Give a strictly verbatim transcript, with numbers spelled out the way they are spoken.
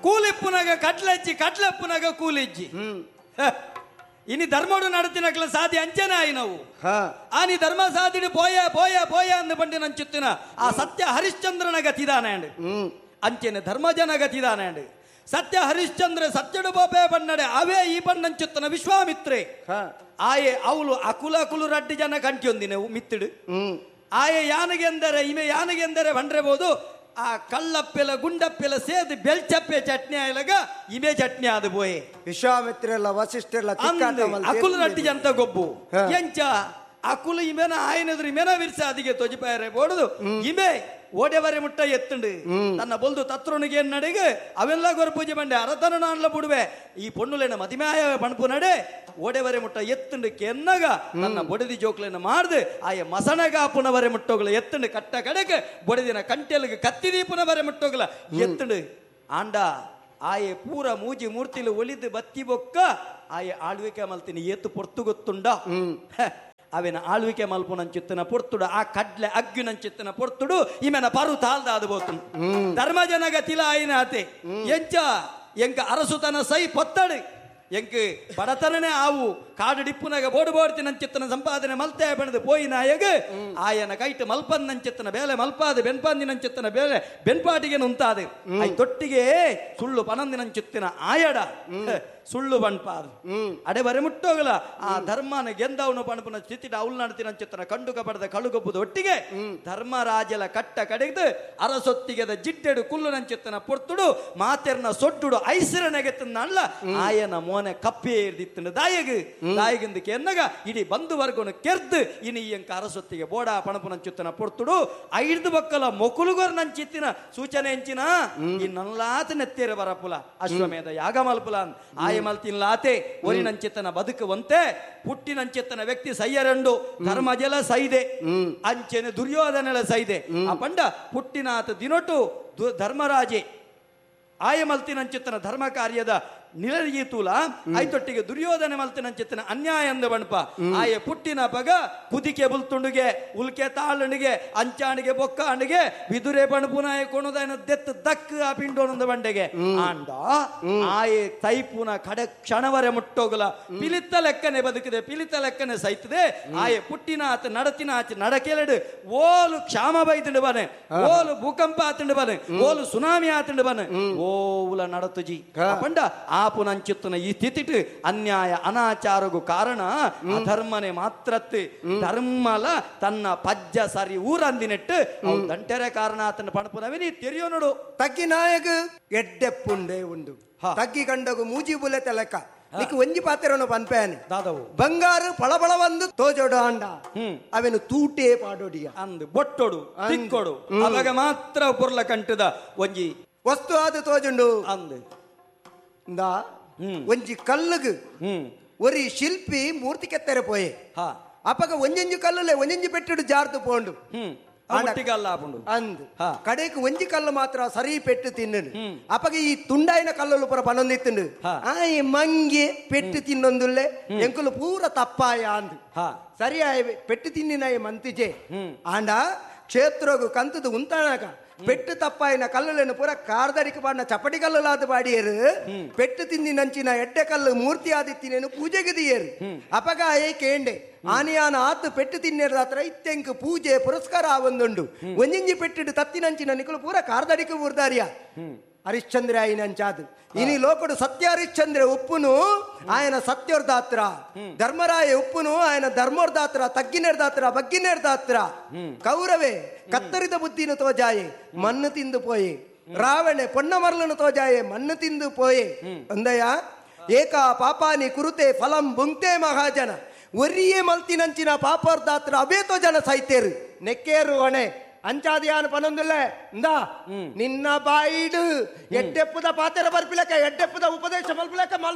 ಕೂಲಿಪ್ಪುನಗ ಕಟ್ಲಜ್ಜಿ ಕಟ್ಲಪ್ಪುನಗ ಕೂಲಿಜ್ಜಿ ಇನಿ ಧರ್ಮಡು ನಡತಿನಕ್ಲ ಸಾದಿ ಅಂಚನೆ ಆಯಿ ನಾವು ಆನಿ ಧರ್ಮ ಸಾದಿಡು ಪೋಯ ಪೋಯ ಪೋಯ ಅಂದು ಬಂಡಿ ನಂಚುತ್ತಿನ ಆ ಸತ್ಯ ಹರಿಶ್ಚಂದ್ರನ ಗತಿದಾನೆ ಅಂಚೆನೆ ಧರ್ಮಜನ ಗತಿದಾನೆ ಸತ್ಯ ಹರಿಶ್ಚಂದ್ರ ಸತ್ಯಡು ಬೋಪೆ ಬಣ್ಣಡೆ ಅವೇ ಈ ಬಣ್ಣಂಚುತ್ತನ ವಿಶ್ವಾಮಿತ್ರೆ ಆಯೆ ಅವಳು ಅಕುಲ ಅಕುಲು ರಡ್ಡಿ ಜನ ಕಂಟಿಯೊಂದಿನ ಮಿತ್ತಿಡು ಆಯೆ ಯಾನಗೆಂದರೆ ಇಮೆ ಯಾನಗೆಂದರೆ ಬಂಡ್ರೆಬೋದು ಆ ಕಳ್ಳಪ್ಪೆಲ ಗುಂಡಪ್ಪೆಲ ಸೇದು ಬೆಲ್ಚಪ್ಪೆ ಚಟ್ನಿ ಆಯ್ಲಗ ಇಮೆ ಚಟ್ನಿ ಆದ ಬೋಯೆ ವಿಶ್ವಾಮಿತ್ರೆಲ್ಲ ವಸಿಷ್ಠರೆಲ್ಲ ಅಕುಲು ರಡ್ಡಿ ಜಂತ ಗೊಬ್ಬು ಎಂಚ ಅಕುಲು ಇಮೆನ ಆಯನದ್ರು ಇಮೆನ ವಿರ್ಸ ಅದಿಗೆ ತೊಜಿಪಾಯರೆ ಬೋಡುದು ಇಮೆ ಓಡೆವರೆ ಮುಟ್ಟ ಎತ್ತುಂಡು ತನ್ನ ಬೊಲ್ದು ತತ್ರೊನಿಗೆ ನಡೆಗೆ ಅವೆಲ್ಲ ಗೊರ ಪೂಜೆ ಬಂಡೆ ಅರತನ ನಾನ್ಲ ಬುಡುವೆ ಈ ಪೊಣ್ಣುಲೇನ ಮದಿಮಾಯ ಪಣಪು ನಡೆ ಓಡೆವರೆ ಮುಟ್ಟ ಎತ್ತುಂಡು ಕೆನ್ನಗ ತನ್ನ ಬೊಡದಿ ಜೋಕ್ಲೇನ ಮಾಡ್ದು ಆಯ ಮಸಣಗಾಪುನವರೆ ಮುಟ್ಟೋಗ್ಲ ಎತ್ತುಂಡು ಕಟ್ಟ ಕಡೆಗೆ ಬೊಡದಿನ ಕಂಟೆಲ್ಗೆ ಕತ್ತಿ ದೀಪುನವರೆ ಮುಟ್ಟೋಗ್ಲ ಎತ್ತುಂಡು ಆಂಡ ಆಯೆ ಪೂರ ಮೂಜಿ ಮೂರ್ತಿಲು ಒಲಿದು ಬತ್ತಿ ಬೊಕ್ಕ ಆಯೆ ಆಳ್ವಿಕೆ ಮಲ್ತಿನಿ ಏತು ಪೊರ್ತು ಗೊತ್ತುಂಡ ಅವೇನ ಆಳ್ವಿಕೆ ಮಲ್ಪುನಂಚಿತ್ತನ ಪೊರ್ತುಡು ಆ ಕಡ್ಲೆ ಅಗ್ಗಿನಂಚಿತ್ತನ ಪೊರ್ತುಡು ಇಮೆನ ಪರು ತಾಲ್ದ ಅದು ಬೋತು ಧರ್ಮಜನಗ ತಿಲ ಆಯಿನ ಆತೆ ಎಂಚ ಎಂಕ ಅರಸುತನ ಸೈ ಪೊತ್ತಡು ಎಂಕ್ ಬಡತನನೇ ಆವು ಕಾಡು ಡಿಪ್ಪುನಾಗ ಬೋಡು ಬೋಡ್ತಿನಂಚಿತ್ತನ ಸಂಪಾದನೆ ಮಲ್ತೆ ಬಣದು ಪೋಯಿ ನಾಯಗ ಆಯನ ಕೈಟ್ ಮಲ್ಪಂದಂಚಿತ್ತನ ಬೇಲೆ ಮಲ್ಪಾದ ಬೆನ್ಪಾಂದಿನಂಚಿತ್ತನ ಬೇಲೆ ಬೆನ್ಪಾಟಿಗೆ ನುಂತಾದ I ತೊಟ್ಟಿಗೆ ಸುಳ್ಳು ಪನಂದಿನಂಚಿತ್ತಿನ ಆಯಡ ಸುಳ್ಳು ಬಣ್ಪಾದ ಅಡೆ ಬರೆ ಮುಟ್ಟೋಗಲ ಆ ಧರ್ಮನ ಗೆಂದವನು ಪಣಪುನ ಸ್ಥಿತಿ ಅವಳು ನಡ್ತಿನಂಚಿತ್ತನ ಕಂಡುಕ ಪಡೆದ ಕಳುಗೊಬ್ಬುದು ಒಟ್ಟಿಗೆ ಧರ್ಮರಾಜಲ ಕಟ್ಟ ಕಡೆದು ಅರಸೊತ್ತಿಗೆದ ಜಿಡ್ಡೆಡು ಕುಲ್ಲು ನಂಚಿತ್ತನ ಪೊರ್ತುಡು ಮಾತೆರ್ನ ಸೊಡ್ಡುಡು ಐಸಿರ ನೆಗೆತ್ತನ್ನಲ್ಲ ಆಯನ ಮೋನೆ ಕಪ್ಪೆ ಇರ್ದಿತ್ತನ ದಾಯಗ ದಾಯಗಿಂದಕ್ಕೆ ಎನ್ನಗ ಇಡೀ ಬಂಧು ವರ್ಗನು ಕೆರ್ದು ಇನಿ ಎಂಕ ಅರಸೊತ್ತಿಗೆ ಬೋಡ ಪಣಪುನಂಚುತ್ತನ ಪೊರ್ತುಡು ಐದು ಬಕ್ಕಲ ಮೊಕುಲುಗೊರ್ ನಂಚಿತ್ತಿನ ಸೂಚನೆ ಎಂಚಿನ ಈ ನಲ್ಲಾತ ನೆತ್ತೇರ ಬರಪುಲ ಅಶ್ವಮೇಧ ಯಾಗ ಮಲ್ಪುಲ ಆಯ ಮಲ್ತಿನ್ಲಾತೆ ಒರಿ ನಂಚಿತ್ತನ ಬದುಕುವಂತೆ ಪುಟ್ಟಿನಂಚಿತ್ತನ ವ್ಯಕ್ತಿ ಸೈಯರಂಡು ಧರ್ಮಜಲ ಸೈದೆ ಅಂಚೆನೆ ದುರ್ಯೋಧನೆಲ ಸೈದೆ ಆ ಪಂಡ ಪುಟ್ಟಿನಾತ ದಿನೊಟು ಧರ್ಮರಾಜೆ ಆಯ ಮಲ್ತಿನಂಚಿತ್ತನ ಧರ್ಮ ಕಾರ್ಯದ ನಿಲೀತೂಲ ಐತೊಟ್ಟಿಗೆ ದುರ್ಯೋಧನೆ ಮಲ್ತಿನಂಚಿತ್ತನ ಅನ್ಯಾಯ ಅಂದ ಬಣಪ ಆಯ ಪುಟ್ಟಿನ ಪಗ ಕುದಿಕೆ ಬುಲ್ತುಂಡುಗೆ ಉಲ್ಕೆ ತಾಳಣಿಗೆ ಅಂಚಾಣಿಗೆ ಬೊಕ್ಕಾಣಿಗೆ ವಿದುರೆ ಬಣಪುನಾಯ ಕೊಣುದಾಯನ ದೆತ್ತ ದಕ್ ಆ ಪಿಂಡೋನೊಂದು ಬಂಡೆಗೆ ಆಂಡ ಆಯೆ ತೈಪುನ ಕಡೆ ಕ್ಷಣವರೆ ಮುಟ್ಟೋಗಲ ಪಿಲಿತ ಲೆಕ್ಕನೆ ಬದುಕಿದೆ ಪಿಲಿತ ಲೆಕ್ಕನೆ ಸೈತದೆ ಆಯೆ ಪುಟ್ಟಿನ ಆತ ನಡತಿನ ಆಚೆ ನಡಕೆಲೆಡು ಓಲು ಕ್ಷಾಮ ಬೈತುಂಡು ಬನೆ ಓಲು ಭೂಕಂಪ ಆತುಂಡು ಬನೆ ಓಲು ಸುನಾಮಿ ಆತುಂಡು ಬನೆ ಓವುಲ ನಡತುಜಿ ಪಂಡ ಆ ಪುನಂಚಿತ್ತನ ಈ ಸ್ಥಿತಿಟ್ ಅನ್ಯಾಯ ಅನಾಚಾರಗೂ ಕಾರಣ ಅಧರ್ಮನೆ ಮಾತ್ರತ್ ಧರ್ಮಲ ತನ್ನ ಪಜ್ಜ ಸರಿ ಊರಂದಿನೆಟ್ಟು ಅವು ದಂಟೆರೆ ಕಾರಣ ಆತನ ಪಣಪುನವೇ ತೆರಿಯೋ ನೋಡು ತಗ್ಗಿ ನಾಯಕ ಎಡ್ಡೆಪ್ಪುಂಡೆ ಉಂಡು ತಗ್ಗಿ ಕಂಡಗು ಮೂಜಿ ಬುಲೆ ತಲೆಕ ನಿಕ್ ಒಂಜಿ ಪಾತ್ರನು ಪನ್ಪೇನೆ ದಾದವು ಬಂಗಾರು ಪಳಬಳ ಒಂದು ತೋಜೋಡು ಅಂಡ ಅವೆನು ತೂಟೇ ಪಾಡೋಡಿಯ ಅಂದು ಬೊಟ್ಟೊಡು ತಿಕ್ಕೊಡು ಅವಾಗ ಮಾತ್ರ ಪೊರ್ಲ ಕಂಟದ ಒಂಜಿ ವಸ್ತು ಆದ ತೋಜುಂಡು ಅಂದು ಒಂಜಿ ಕಲ್ಲುಗು ಒರಿ ಶಿಲ್ಪಿ ಮೂರ್ತಿ ಕೆತ್ತರೆ ಪೋಯೆ ಅಪಗ ಒಂಜೊಂಜಿ ಕಲ್ಲುಲೆ ಒಂಜೊಂಜಿ ಪೆಟ್ಟುಡು ಜಾರ್ದು ಪೋಂಡು ಅಂದು ಕಡೆಗೆ ಒಂಜಿ ಕಲ್ಲು ಮಾತ್ರ ಸರಿ ಪೆಟ್ಟು ತಿನ್ನು ಅಪಗ ಈ ತುಂಡಾಯಿನ ಕಲ್ಲುಲು ಪೂರ ಪನೊಂದಿತ್ತುಂಡು ಆ ಈ ಮಂಗೆ ಪೆಟ್ಟು ತಿನ್ನೊಂದುಲ್ಲೆ ಎಂಕುಲು ಪೂರ ತಪ್ಪಾಯ ಅಂದು ಸರಿ ಆಯ್ ಪೆಟ್ಟು ತಿನ್ನಿನಾಯ ಮಂತಿಜೆ ಆಂಡ ಕ್ಷೇತ್ರಗು ಕಂತದು ಉಂತಾಣಕ ಪೆಟ್ಟು ತಪ್ಪಾಯಿನ ಕಲ್ಲುలను ಪೂರ ಕಾರ್ದಡಿಕೆ ಪಾಡಿನ ಚಪಟಿ ಕಲ್ಲುಲಾದ ಪಾಡಿಯರು ಪೆಟ್ಟು ತಿಂದಿ ನಂಚಿನ ಎಡ್ಡೆ ಕಲ್ಲು ಮೂರ್ತಿ ಆದಿತ್ತಿನೇನು ಪೂಜೆಗೆ ದಿಯರು ಅಪಗ ಆಯೇ ಕೇಂಡೆ ಆನಿಯಾನ ಆತು ಪೆಟ್ಟು ತಿನ್ನೇರದ ಹತ್ರ ಇತ್ತೆಂಕ್ ಪೂಜೆ ಪುರಸ್ಕಾರ ಆವೊಂದುಂಡು ಒಂಜಿಂಜಿ ಪೆಟ್ಟಿಡು ತತ್ತಿನಂಚಿನ ನಿಕುಲು ಪೂರ ಕಾರ್ದಡಿಕೆ ಊರ್ದಾರಿಯ ಹರಿಶ್ಚಂದ್ರ ಆಯಿನಂಚಾದು ಇನಿ ಲೋಕಡು ಸತ್ಯ ಹರಿಶ್ಚಂದ್ರ ಉಪ್ಪುನು ఆయన ಸತ್ಯೋರ್ದಾತ್ರ ಧರ್ಮರಾಯ ಉಪ್ಪುನು ఆయన ಧರ್ಮೋರ್ದಾತ್ರ ತಗ್ಗಿನೇರ್ದಾತ್ರ ಬಗ್ಗಿನೇರ್ದಾತ್ರ ಕೌರವೇ ಕತ್ತರಿದ ಬುದ್ಧಿನು ತೋಜಾಯೆ ಮಣ್ಣು ತಿಂದು ಪೋಯೆ ರಾವಣೆ ಪೊನ್ನಮರ್ಲನು ತೋಜಾಯೆ ಮಣ್ಣು ತಿಂದು ಪೋಯೆ ಅಂದಯ ಏಕ ಪಾಪಾನಿ ಕುರುತೆ ಫಲಂ ಬುಂಕ್ತೆ ಮಹಾಜನ ಒರಿಯೇ ಮಲ್ತಿನಂಚಿನ ಪಾಪೋರ್ದಾತ್ರ ಅಬೇತೋ ಜನ ಸೈತೇರು ನೆಕ್ಕೇರು ಹೊಣೆ ಅಂಚಾದಿಯಾನ ಪನೊಂದುಲ್ಲೆ ಇಂದಾ ನಿನ್ನ ಬಾಯಿಡು ಎಡ್ಡೆಪ್ಪುದ ಪಾತೆರ ಬರ್ಪಿಲಕ ಎಡ್ಡೆಪ್ಪುದ ಉಪದೇಶ ಮಲ್ಪಿಲಕ ಮಲ್ಪ